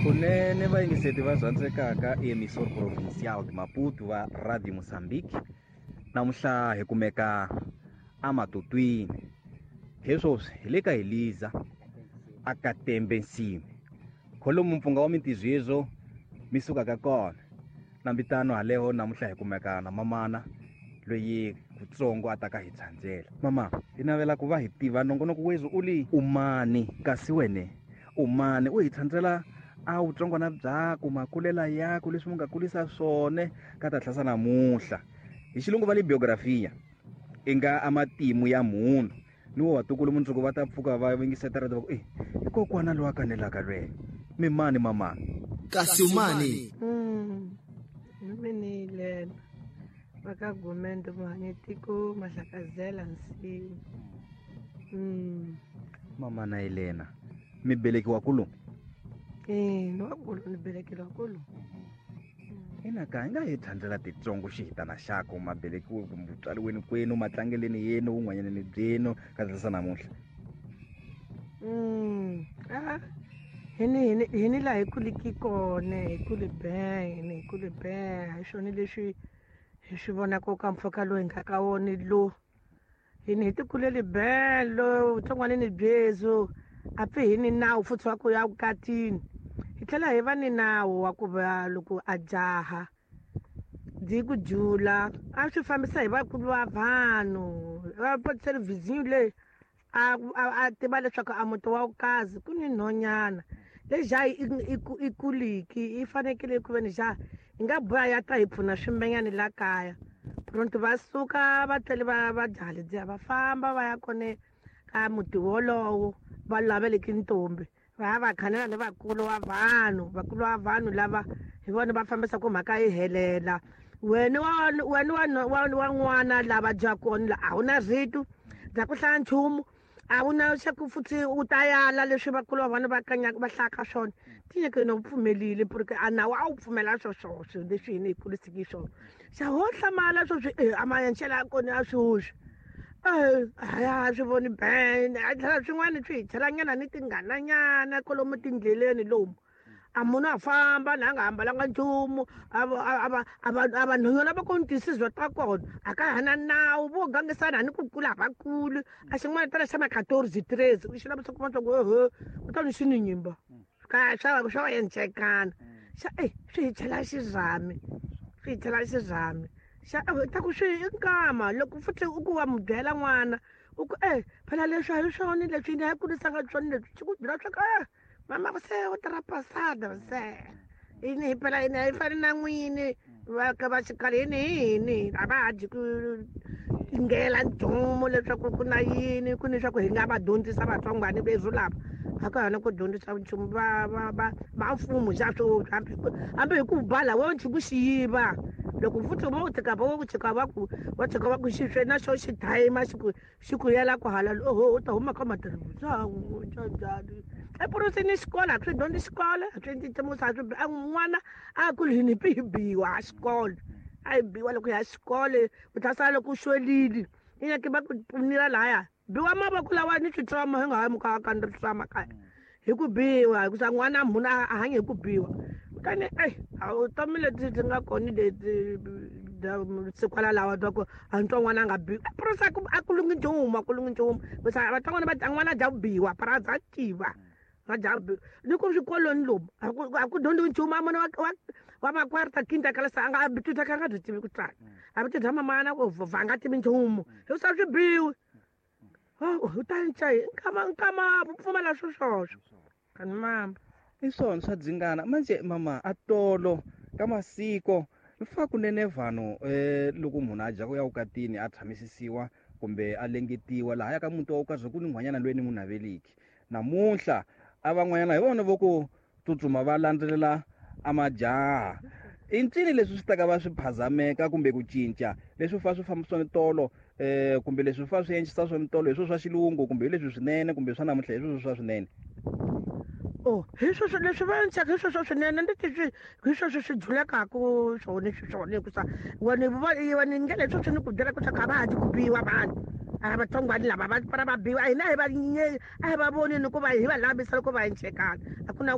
Kunene vayingiseti va rhandzekaka emissor provincial de Maputo va Radio Mozambique, namuhla hi kumeka amatutwini heswoswi hi le ka Eliza akatembe nsimi kholomu mpfunga wa mintizwi hezwo mi sukaka kona nambitano haleho. Namuhla hi kumeka na mamana loyi kutsongo a taka hi tshandzela. Mama, hi navela ku va hi tiva nongonoko wezwi u li umani, kasi wene umani u hi tshandzela a vutsongwana byaku, makulela yaku, leswi mu nga kulisa swone ka ta tlhasa namuhla. Hi xilungu va le biografia, i nga a matimu ya munhu ni wo vatukulu mundzuku va ta pfuka va yingiseta va ku i kokwana loyi a kanelaka lweyo. Mi mani mamani? Kasi umani? Mina lena va ka Gumende Muhanyetiko Mahlakazela Nsimu. Mama na Elena, mi belekiwa kulu? Ni wa kulu, ni belekeliwa kulu. Ina ka hi nga hi thandzela titsongo xihitana xako mabelekiwe kumbe vutswariweni kwenu, matlangeleni yenu, vun'wanyaneni byenu ka tlhasa namuhla. Hini laha hi kuliki kona, hi kule ben, hi kule ben. Hi swona leswi hi swi vonaka ka mpfhuka lowu hi nga ka wona lo. Hini hi ti kuleli ben lo vutsongwanini byezu, a pfi hi ni nawu futhi wa ku ya vukatini. Hi tlhela hi va ni nawu wa ku va loko a jaha dyi ku jula a swi fambisa hi vakulu va vanhu va thelevhizini leyi a tiva leswaku a muti wa vukazi ku ni nhonyana leyi jaha i kuliki i fanekele ku veni jaha hi nga boha ya ta hi pfuna swimbenyani la kaya. Pronto va suka va tlhele va jaha ledyiya va famba va ya kone ka muti wolowo va laveleki ntombi, va ya va khanela ni vakulu wa vanhu. Vakulu wa vanhu lava hi vona va fambisaka mhaka yi helela. Wena wa n'wana lava dya kona la a wu na rito bya ku hlaya nchumu, a wu na xa ku futhi u ta yala leswi vakulu va vona va kanyaka va hlayaka swona. Tinyike na u pfumelile porque a nawu a wu pfumela swoswoswo leswi hina hi kurisiki swona. Xa ho hlamala swoswi a maenxela ya kona ya swoswi a swi voni ben. A tlhela swin'wana swi hi chelanyana ni tinghananyana kwalomu tindleleni lomu a munhu a famba na a nga hambalanga nchumu, a vanhonyana va ku twisizwa ta kona a ka ha na nawu vo gangisana ni ku kula va kuli a xin'wana tala xa ma 14 13 u xi lavisa kuma swa ku ehe u ta ni xi ni nyimba ka swa encekana xa swi hi chela xirhami, swi hi chela xirhami xa ta ku swi i nkama loko futhi u ku wa mu byela n'wana u ku phela leswi a hi swona leswi ni a yi kurisanga swona leswi xi ku byela swa ku mama se u trapasada se ini hi phela ini a yi fani na n'wini va ka va xikhala yini hi yini a va ha dyi ku ngela nchumu leswaku ku na yini ku ni swa ku hi nga va dyondzisa vatsongwani vezu lava a ka hana ku dyondzisa nchumu va va va va mfumo xa swo hambi hi ku bala wo nchumu xi yiva loko futhi vo tshika va ku tshika va ku va tshika va ku xi swe na xo xi thayima xi ku xi ku yela ku hala oho u ta huma ka matirhisa njhani epurasini xikolo a swi dyondzi xikolo a swi endli nchumu a swi n'wana a kuli hi ni hi biwa a xikolo a hi biwa loko hi ya xikolo u ta sala loko u xwelile i nyaki va ku pfunila lahaya biwa mavoko lawa ni switswama hi nga ha muka ka ni switswama kaya hi ku biwa hikusa n'wana munhu a hanya hi ku biwa. Kutani vutomi lebyi byi nga kona lebyi sikwala lawa bya ku a ntwa n'wana a nga biwi purasi a ku lungi nchumu, a ku lungi nchumu hikusa vatsongwana va n'wana dya ku biwa purasi a tiva va dya biwa ni ku swikolweni lomu a ku dyondziwi nchumu. A munhu wa makwarta kinta kalasa a nga twi ka nga byi tivi ku tsala a bi dya mamana ku va nga tivi nchumu hikusa swi biwi u ta nca nkama nkama pfumela swo swoswo kani mama i swona swa dzingana manje mama a tolo ka masiko fa kunene vanhu loko munhu a dya ku ya vukatini a tshamisisiwa kumbe a lengetiwa laha ya ka muti wa vukazi ku ni n'hwanyana loyi ni n'wi naveliki namuntlha a van'wanyana hi vona vo ku tsutsuma va landzelela a majaha. I ncini leswi swi taka va swi phazameka kumbe ku cinca leswi fa swi fambisa tolo kumbe leswi fa swi endlisa swona tolo hi swo swa xilungu kumbe hi leswi swinene kumbe swa namuntlha hi sweswo swa swinene? Oh hi sweswo leswi va endlaka hi sweswo swinene ndi ti swi hi sweswo swi julekaku swona swi swona hikusa wena wena ndlela hi sweswo ni ku byela ku swa ku a va ha dyi ku biwa vanhu a vatsongwani lava va para va biwa hina hi va a hi va voni ni ku va hi va lavisa loko va encekana a ku na.